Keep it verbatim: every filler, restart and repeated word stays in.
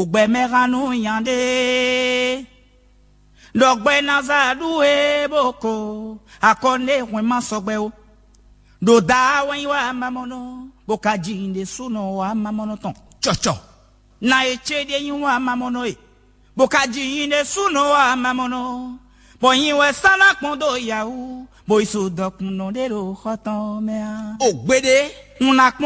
Ògbɛmɛhannú nya ɖé ɖɔ gbɛ ná zá ɖú é bó ko akɔ nɖé hwɛn má sɔgbɛ ó. Ɖo da wɛ nyí wá mamɔnɔ, bó ka ji nyí ɖésúnɔ wá mamɔnɔ tɔn cɔcɔ. Na e ce ɖé nyí wá mamɔnɔ e, bó ka ji nyí ɖésúnɔ wá mamɔnɔ, bɔ nyi wɛ sá ná kpɔn dó yawú, bó yi so dɔkunnɔ ɖé ɖo xɔ tɔn mɛ á. O gbeɖé, un ná kpɔn